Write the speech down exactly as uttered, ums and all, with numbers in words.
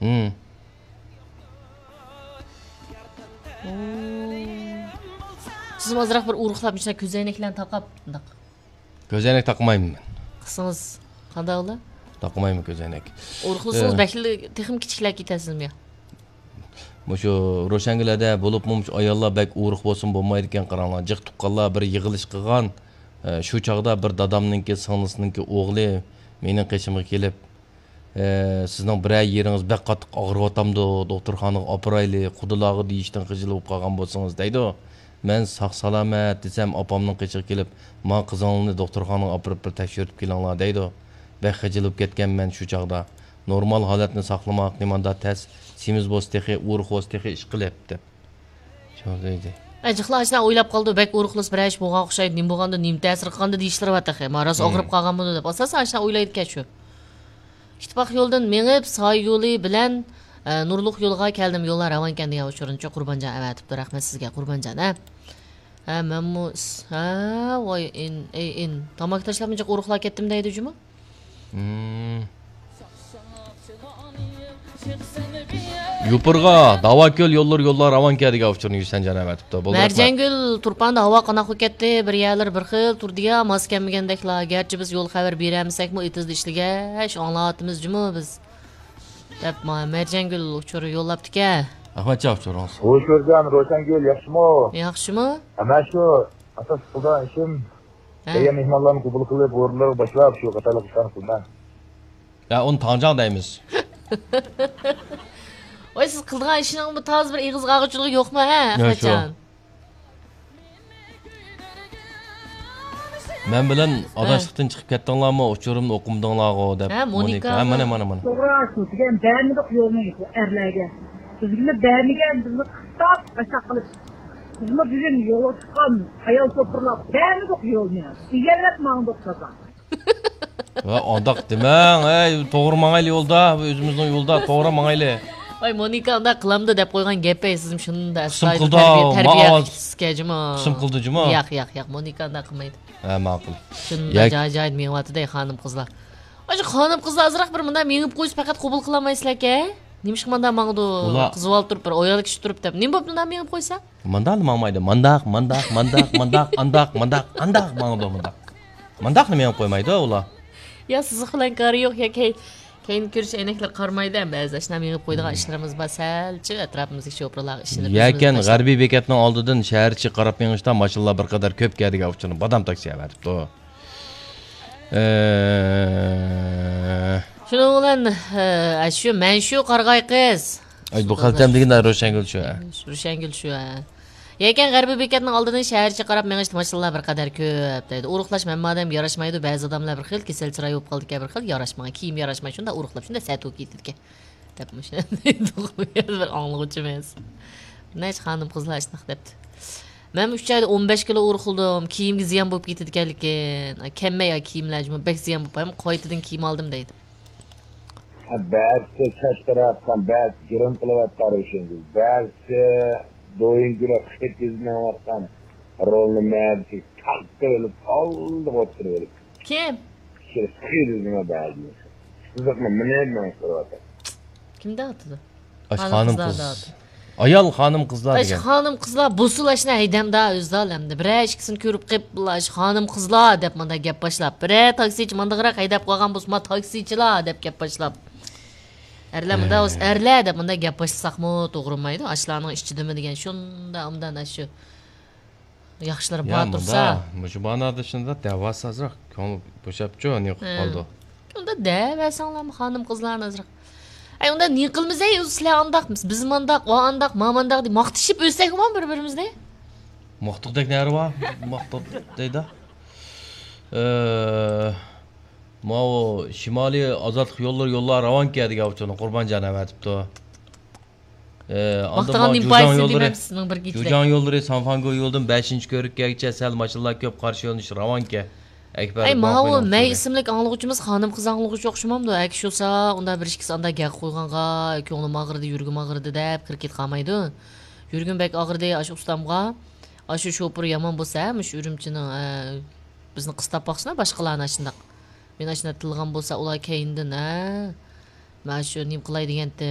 ھىم. سىزمۇ ئازراق بىر ئورۇقلاپ، مۇشۇنداق كۆزەينەكلەرنى تاقاپ، مۇنداق. كۆزەينەك تاقىمايمەن مەن. قىلسىڭىز قانداق بولار؟ تاقىمايمەن كۆزەينەك. ئورۇقلىسىڭىز ئە. بەكلا تېخىمۇ كىچىكلەپ كېتەرسىزمۇ يا؟ مۇشۇ روشەنگۈلەردە بولۇپمۇ مۇشۇ ئاياللار بەك ئورۇق بولسىمۇ بولمايدىكەن، قاراڭلار. جىق تۇغقانلار بىر يىغىلىش قىلغان. ئە، شۇ چاغدا بىر دادامنىڭكى سىڭلىسىنىڭكى ئوغلى مېنىڭ قېشىمغا كېلىپ، ئە، سىزنىڭ بىرەر يېرىڭىز بەك قاتتىق ئاغرىۋاتامدۇ، دوختۇرخانىغا ئاپىرايلى، قۇدىلارغا دېيىشتىن خىجىل بولۇپ قالغان بولسىڭىز دەيدۇ. مەن ساق سالامەت دېسەم، ئاپامنىڭ قېشىغا كېلىپ، ما قىزىڭلارنى دوختۇرخانىغا ئاپىرىپ بىر تەكشۈرتۈپ كېلىڭلار دەيدۇ. بەك خىجىل بولۇپ كەتكەنمەن شۇ چاغدا. نورمال ھالەتنى ساقلىماقنى ماندا تەس، سېمىز بولسا تېخى، ئورۇق بولسا تېخى ئىشقىلىپ دەپ. شۇ دەيدۇ. ئە، جىقلا ئاشۇنداق ئويلاپ قالىدۇ، بەك ئورۇقلىسا بىرەر ئىش بولغان ئوخشايدۇ، نېمە بولغاندۇ، نېمە تەسىر قىلغاندۇ دېيىشلىرى بار تېخى. ما راست مم. ئاغرىپ قالغانمىدۇ دەپ. ئاساسەن ئاشۇنداق ئويلايدىكەن شۇ. ئىتتىپاق يولىدىن مېڭىپ، سايە يولى بىلەن، ئە، نۇرلۇق يولغا كەلدىم، يوللار راۋانكەن دېگەن ئۇچۇرنىچۇ قۇربانجان ئەۋەتىپتۇ. رەھمەت سىزگە، قۇربانجان، ھە. ھە، مەنمۇ س-، ھە، ۋاي، ئىن، ئەي، ئىن. تاماكا تاشلاپ جىق ئورۇقلاپ كەتتىم دەيدۇ جۇمۇ. مم. يوپۇرغا، داۋاكۆل يوللىرى يوللار راۋانكەن دېگەن ئۇچۇرنى يۈسەنجان ئەۋەتىپتۇ. بولدى رەھمەت. مەرجانگۈل، تۇرپاندا ھاۋا قانداق بولۇپ كەتتى؟ بىر يەرلىرى بىر خىل تۇردى يا، ماس كەلمىگەندەكلا. گەرچە بىز يول خەۋەر بېرەلمىسەكمۇ، ئېتىزدا ئىشلىگەچ ئاڭلاۋاتىمىز جۇمۇ بىز. دەپ ما-، مەرجانگۈل ئۇچۇر يوللاپتىكەن. ئەخمەتجان ئۇچۇرىڭىز. ھوش كۆرگەن روشەنگۈل ياخشىمۇ؟ ياخشىمۇ؟ ھە، مەن شۇ ئاساس قىلىدىغان ئىشىم ھە. كەلگەن مېھمانلارنى قوبۇل قىلىپ، ئورۇنلىرىغا باشلاپ، شۇ قاتارلىق ئىشلارنى قىلىمەن. يا، ئۇنى تاڭجاڭ دەيمىز. ۋاي، سىز قىلىدىغان ئىشنىڭ بۇ تازا بىر ئېغىز ئاغۇچىلىقى يوقمۇ، ھە، يا، شۇ. ئەخمەتجان؟ مەن بىلەن ھە. ئاداشلىقتىن چىقىپ كەتتىڭلارمۇ، ئۇچۇرۇمنى ئوقۇمىدىڭلارغۇ دەپ. ھە، مونىكا. مونىكا. ھە، مانا، مانا، مانا. توغرا، شۇ دېگەن بەرمىدۇق يولنى بۇ ئەرلەرگە. بىزگىمۇ بەرمىگەن، بىزنى قىستاپ، ئاشۇنداق قىلىپ. بىزمۇ بۈگۈن يولغا چىققان ئايال شوپۇرلار بەرمىدۇق يولنى. ئىگىلەپ ماڭدۇق تازا. ۋە ئانداق دېمەڭ، ئەي، توغرا ماڭايلى يولدا، ئۆزىمىزنىڭ يولدا توغرا ماڭايلى. ۋاي، مونىكا ئانداق قىلامدۇ دەپ قويغان گەپ، ئەي، سىزمۇ شۇنداق قىسىم ئەستايىدىل قىلدى، تەربىيە، ما تەربىيە ئاۋاز. قىلىسىزكەن جۇمۇ. قىسىم قىلدى جۇمۇ. ياق، ياق، ياق، مونىكا ئانداق قىلمايدۇ. ھە، ماقۇل. شۇنداق ياك. جاي-جايدا مېڭىۋاتىدۇ، خانىم-قىزلار. ئاشۇ خانىم-قىزلار ئازراق بىر مۇنداق مېڭىپ قويسا پەقەت قوبۇل قىلالمايسىلەركەن. نېمىشقا مۇنداق ماڭىدۇ؟ ئۇلار قىز بالا تۇرۇپ، بىر ئايال كىشى تۇرۇپ دەپ. نېمە بوپتۇ مۇنداق مېڭىپ قويسا؟ مانداقلا ماڭمايدۇ. مانداق، مانداق، مانداق، مانداق، ئانداق، مانداق، ئانداق ماڭىدۇ مانداق. مانداقلا مېڭىپ قويمايدۇ ئۇلار. يا سىزىق بىلەن كارى يوق، يا كەي-، كەينى كۆرۈش ئەينەكلىرى قارىمايدۇ، ھەم بەزىدە ئاشۇنداق مېڭىپ قويىدىغان ئىشلىرىمىز بار، سەلچە ئەتراپىمىزدىكى شوپۇرلارغا ئىشىنىپ يەكەن ئۆزىمىز غەربىي بېكەتنىڭ ئالدىدىن شەھەر ئىچىگە قاراپ مېڭىشتا ماشىنىلار بىر قەدەر كۆپ كەلدى ئۇچۇرنى بادام تاكسى ئەۋەتىپتۇ. ئە، شۇنىڭ بىلەن، ئە، شۇ مەن شۇ قارىغاي قىز. ئاي، بۇ خەلتەم دېگەن روشەنگۈل شۇ، ھە. روشەنگۈل شۇ، ھە. يەكەن غەربىي بېكەتنىڭ ئالدىدىن شەھەرچە قاراپ مېڭىشتا ماشىنىلار بىر قەدەر كۆپ دەيدۇ. ئورۇقلاش ھەممە ئادەمگە ياراشمايدۇ، بەزى ئادەملەر بىر خىل، كېسەل چىراي بولۇپ قالىدىكەن بىر خىل، ياراشمىغان، كىيىم ياراشماي، شۇنداق ئورۇقلاپ، شۇنداق سەت بولۇپ كېتىدىكەن. دەپ مۇشۇ بىر ئاڭلىغۇچىمىز. نەچچە خانىم قىزلار شۇنداق دەپتۇ. مەن ئۈچ ئايدا ئون بەش كىلو ئورۇقلىدىم، كىيىمگە زىيان بولۇپ كېتىدىكەنلىكىن. كەممەي كىيىملەر جۇمۇ، بەك زىيان بولۇپ، قايتىدىن كىيىم ئالدىم دەيدۇ. بەزىسى چاچ تاراۋاتقان، بەزىسى گىرىم قىلىۋاتقان روشەنگۈل، بەزىسى دويۇنكىلار خېتىز مېڭىۋاتقان رولنى مەدىسى تاققا ئېلىپ، ئالدىغا ئوتتۇرىغا ئېلىپ. كىم؟ كىشىلەر خېتىز مېڭە بەزىسى. سىزىقنى مىنىپ مېڭىپ تۇرۇۋاتىدۇ. كىم دەۋاتىدۇ؟ ئاش خانىم خانىم قىزلار قىز. دەۋاتىدۇ. ئايال خانىم قىزلار ئاش دېگەن. خانىم قىزلار بولسىلا ئاشۇنداق ھەيدەمدا ئۆزىلا ئەمدى. بىرەر ئىككىسىنى كۆرۈپ قېلىپ، ئاش خانىم قىزلار دەپ مانداق گەپ باشلاپ. بىرەر تاكسىچى مانداقراق ھەيدەپ قالغان بولسا، ما تاكسىچىلار دەپ گەپ باشلاپ. ئەرلەر مۇنداق بولسا، ئەرلەر دەپ مۇنداق گەپ باشلىساقمۇ توغرىمايدۇ. ئاشۇلارنىڭ ئىچىدىمۇ دېگەن شۇنداق ئۇنداق ئاشۇ ياخشىلىرى يا بار تۇرسا. مۇندا، مۇشۇ مانادا شۇنداق دەۋاسازراق كۆڭۈل بوشاپچۇ، نېقىپ ھە. قالىدۇ. ئۇندا دەۋەرسەڭلارمۇ خانىم قىزلارنى ئازراق. ئەي، ئۇندا نېقىلمىز، ئەي، سىلەر ئانداق، بىز مانداق، ئۇ ئانداق، ما مانداق دەپ ماختىشىپ ئۆتسەكمۇ بىر بىرىمىزنى. ماختۇقتەك نەرى بار، ماختۇق دەيدۇ. ئە، ماۋۇ شىمالىي ئازادلىق يوللىرى يوللار راۋانكە دېگەن ئۇچۇرنى قۇربانجان ئەۋەتىپتۇ. ئە، ئاندىن ماختىغان ماۋۇ نېمە جۇجاڭ پايدىسى يوللىرى، دېمەمسىز سىزنىڭ بىر گېچىلەر. جۇجاڭ يوللىرى سانفاڭگو يولىدىن بەشىنچى كۆۋرۈككەگىچە سەل ماشىنىلار كۆپ، قارشى يۆنىلىش راۋانكە. ئەكبەر ئەي، ماۋۇ مەي ئىسىملىك ئاڭلىغۇچىمىز خانىم قىز ئاڭلىغۇچى ئوخشىمامدۇ؟ ئەكى شۇسا، ئۇندا بىر ئىككىسى ئاندا گەپ قويغانغا، كۆڭلۈم ئاغرىدى، يۈرىكىم ئاغرىدى دەپ كىرىپ كېتىپ قالمايدۇ. يۈرىكىم بەك ئاغرىدى، ئاشۇ ئۇستامغا، ئاشۇ شوپۇر يامان بولسا، مۇشۇ ئۈرۈمچىنىڭ، ئە، بىزنى قىستاپ باقسىنا باشقىلارنى ئاشۇنداق. مېنى ئاشۇنداق تىللىغان بولسا، ئۇلار كەينىدىن، ھە، مانا شۇ نېمە قىلاي دېگەنتى،